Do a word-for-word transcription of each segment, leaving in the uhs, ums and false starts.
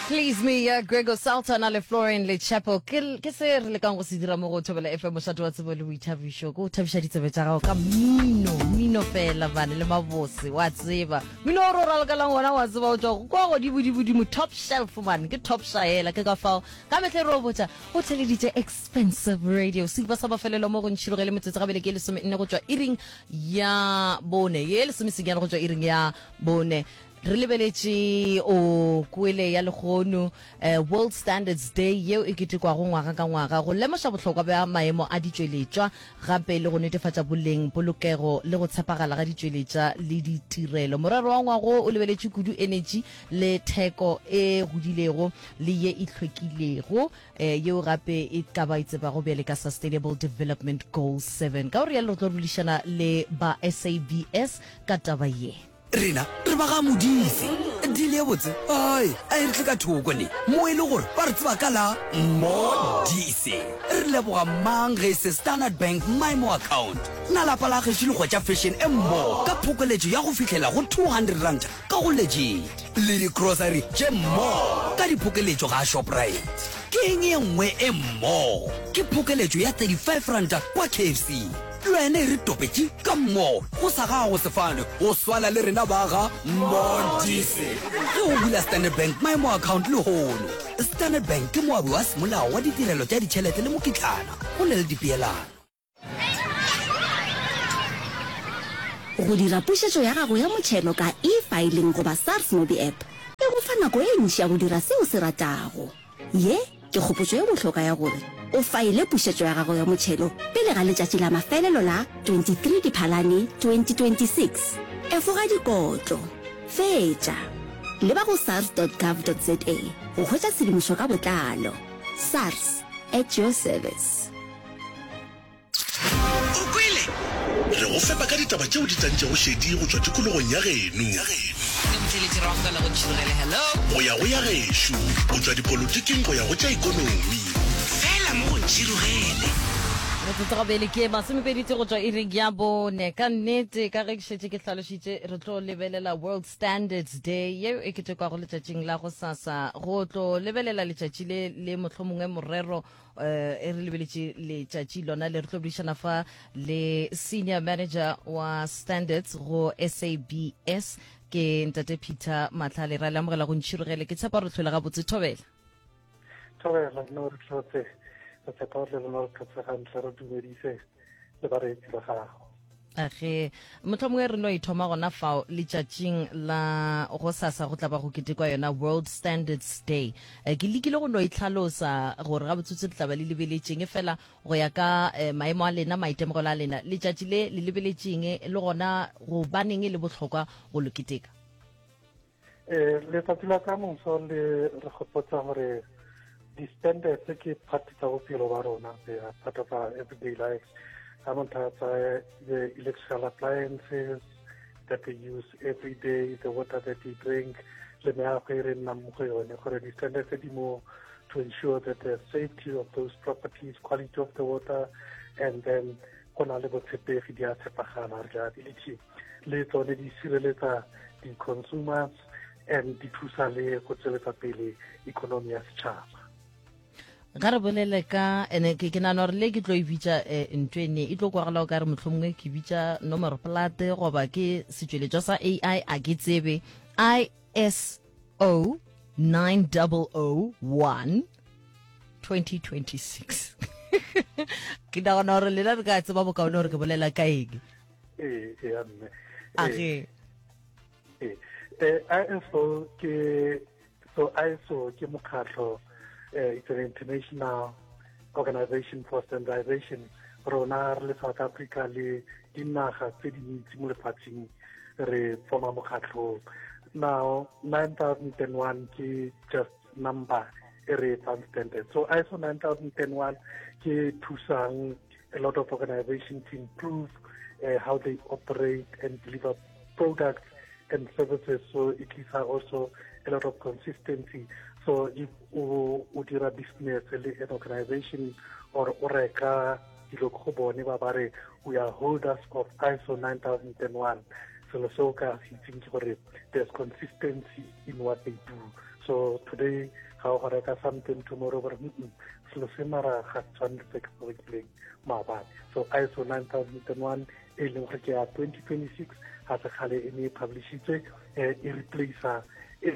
Please Me ya Gregor Saltana le Florian le Chapel ke ke se re lekang go se dira mo go Thobela F M, mošate wa tsebo le boithabišo. Ke go thabiša ditsebe tša gago ka mmino, mmino fela bane le mabose wa tseba. Mmino o re o ralokelang wona wa tseba o tšwa kwa godimo-dimo, top shelf man, ke top shaela. Ke ka fao ka mehle re o botša o theleditše Expensive Radio. Seripa sa mafelelo mo go ntšhiroge le metsotso gabele ke lesome nne go tšwa iring ya bone, ye lesomesenyane go tšwa iring ya bone. Re lebeletše o kwele ya lehono, eh, World Standards Day, yeo e ketekwago ngwaga ka ngwaga go lemoša bohlokwa bja maemo a ditšweletšwa, gape le go netefatša boleng, polokego le go tshepagala ga ditšweletša le ditirelo. Morero wa ngwago o lebeletše kudu energy le theko e godilego le ye e hlwekilego, eh, yeo gape e ka ba e tsebago bjale ka Sustainable Development Goal seven. Ka go rialo re tlo boledišana le ba S A B S ka taba ye. Rena re ba ga Modise dile ye botse ai a e re tle ka thoko ne mo e le gore ba re tseba ka la Modise. Re leboga mang ge e se Standard Bank MyMo account? Na lapa la gešo le hwetša fashion e mmo ka phokoletšo ya go fihlela go two hundred rand ka go Legit, le di-grocery tše mmo ka diphokeletšo ga Shoprite? Ke eng ye nngwe e mmo? Ke phokeletšo ya thirty-five rand kwa K F C. Le wena e re topetše ka mmo go sa gago sefane go swana le rena ba ga Modise ge o bula Standard Bank MyMo account lehono. Standard Bank ke moabi wa semolao wa ditirelo tša ditšhelete le mokitlana, go na le dipeelano. Go dira pušetšo ya gago ya motšhelo ka eFiling goba SARS Mobi App e go fa nako e ntši ya go dira seo se ratago. Ye ke kgopotšo ye bohlokwa ya gore o faele pušetšo ya gago ya motšhelo pele ga letšatši la mafelelo la twenty-three Diphalane twenty twenty-six. Efoga dikotlo. Fetša. Leba go sars dot gov dot za go hwetša tshedimošo ka botlalo. SARS, at your service. O kwele? Re go fepa ka ditaba tšeo di tantšego šedi go tšwa tikologong ya geno Le motheletši ra go go ntšhirogele, hello. Go ya go ya gešo, go tšwa dipolotiking go ya go tša ikonomi. Fela mo go Ntšhirogele. Metsotso gabele ke masomepedi go tšwa iring ya bone. Ka nnete, ka ge ke šetše ke hlalošitše, re tlo lebelela World Standards Day yeo e ketekwago letšatšing la go sasa. Go tlo lebelela letšatši le le mohlomongwe morero, eh, e re lebeletše letšatši lona le, re tlo boledišana fa le senior manager wa standards go S A B S, ke ntate Peter Matlhale. Ra le amogela go Ntšhirogele. Ke tshepa re tlhole gabotse. Thobela. Thobela, no re tlhotse, re tshepa gore le lona re tlhotse gantle. Re dumedise le bareetsi ba gago. Age, mohlomongwe re no ithoma gona fao letšatšing la go sasa go tla ba go ketekwa yona World Standards Day. Eh, ke lekile go no itlhalosa gore ga botsotse le tla ba le lebeletšeng, e fela go ya ka eh, maemo a lena, maitemogelo a lena, letšatši le le lebeletšeng le gona gobaneng e le bohlokwa go lo keteka? um letsatsi la ka moso le re gopotsa gore di-standards ke part tsa bophelo ba rona. They are part of our everyday lives. Ga motho a tsaya the electrical appliances that we use every day, the water that we drink, le meago e re nnang mo go yone, gore di-standards di mo to ensure that the safety of those properties, quality of the water, and then go na le botshepegi, di a tshepagala, reliability, le tsone di sireletsa di-consumers and di thusa le go tsweletsa pele economy ya setšhaba. Ga re bolele ka ene, ke ke nagana gore le ke tlo e bitša um ntho ene e tlo kwagala o ka re mohlomongwe ke bitša nomoro plate goba ke setšweletšwa sa A I, a ke tsebe. I S O nine double oh one twenty twenty-six, ke nagana gore lena re ka tseba bokaone gore ke bolela ka eng. Ee, ee mme. Age. Ee, eh I S O ke, so I S O ke mokgatlho, eh it's an international organization for standardization. Rona re le South Africa le dinaga tse dintsi mo lefatsheng re forma mokgatlho. Now nine thousand and one ke just number e re fang standard. So I S O nine thousand and one ke thusang a lot of organizations to improve uh, how they operate and deliver products and services. So it gives also a lot of consistency. So if o o dira business le an organization or o reka dilo go bone, ba ba re we are holders of I S O nine thousand and one, selo se o ka se itseng ke gore there's consistency in what they do. So today ga o go reka something, tomorrow gore mm selo se mara ga se tshwane le se ke se rekileng maabane. So I S O nine thousand and one e leng gore ke ya twenty twenty-six, ga se kgale e ne e publishitswe, um e replacea e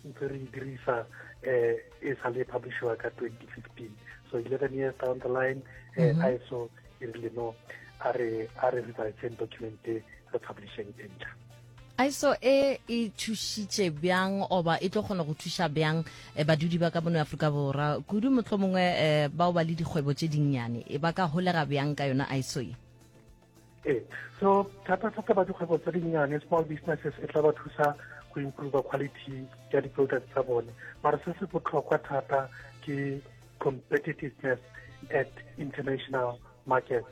ntse re e dirisa um e sa le publishiwa ka twenty fifteen. So eleven years down the line, um I S O e rile no, a re a re reviseng document, e re publisheng e ntšha. I S O e e thušitše bjang oba e tlo kgona go thuša bjang eh, badudi ba ka mono Afrika Borwa, kudu motlho mongwe eh, bao ba le dikgwebo tše dinnyane, e ba ka holega bjang ka yona I S O e? Ee, so thata-thata ba dikgwebo tse dinnyane, small businesses, e tla ba thusa go improve quality ya di-products tsa bone. Mara se se botlhokwa thata ke competitiveness at international markets.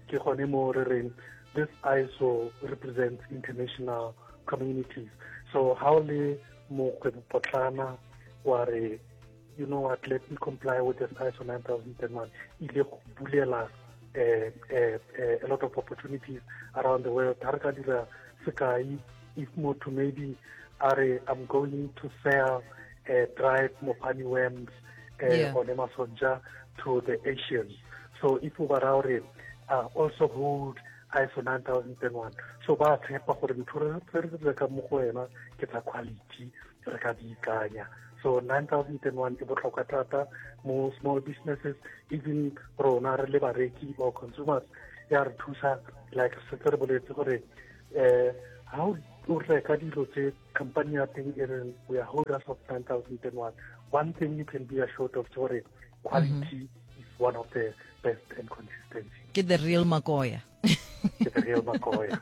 Ke gone mo re reng this I S O represents international communities. So how le mokgwebo potlana wa re, you know what, let me comply with this I S O nine thousand and one, ile go bulela uh, uh, uh, a lot of opportunities around the world. Ha re ka dira sekai, if motho maybe a re, I'm going to sell uh, dried mopani worms uh, Yeah. or masonja to the Asians, so if o ba ra gore uh, also hold I S O nine thousand and one, so ba tshepa gore ntho re re re rekang mo go wena ke tsa quality, re ka di ikanya. So nine thousand and one e botlhokwa thata mo small businesses. Even rona re le bareki or consumers, ya re thusa. Like setse re boletse gore eh ha o reka dilo tse company ya teng e reng we are holders of nine thousand and one, one thing you can be assured of ke gore quality is one of the best and consistency. Ke the real makoya. Ke the real makoya.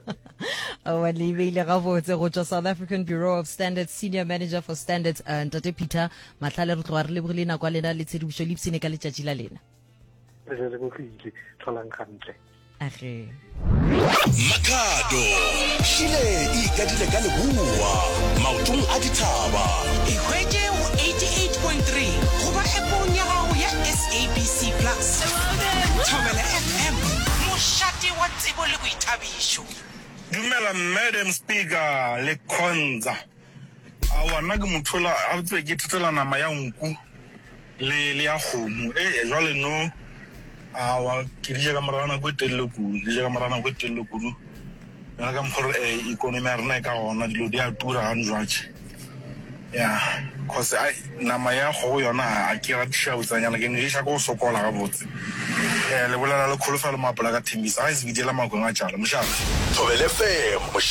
Oa, le beile gabotse. Go tswa South African Bureau of Standards, senior manager for standards, uh, ntate Peter Matlhale, re tloga re lebogile nako ya lena le tshedimošo. Le ipsene ka letšatši la lena. Re lebogile, tlholang gantle. Age. Makhado šile e ikadile ka leboa maotong a dithaba. E hwetše go eighty-eight point three goba appong ya gago ya S A B C Plus. Thobela F M, mošate wa tsebo le boithabišo. Dumela Madam Speaker le Khonza. Aowa, nna ke motho ola a tsebe ke ithatela nama ya nku le le ya kgomo. Ee, jwale no aowa, ke di ja ka morago ga nako e telele kudu, ke di ja ka morago ga nako e telele kudu. Yona ka mokgwa gore economy ya rena e ka gona, dilo di a tura gane jwatše. Ya, cause ai nama ya kgogo yona a ke ratiša botsanyana, ke no ješa ke go sokola gabotse. Eh, le bolela le Kholofelo Mapola ka Thembisa, ga e se bidela makweng a tšala. Mošate. Thobela F M mošate.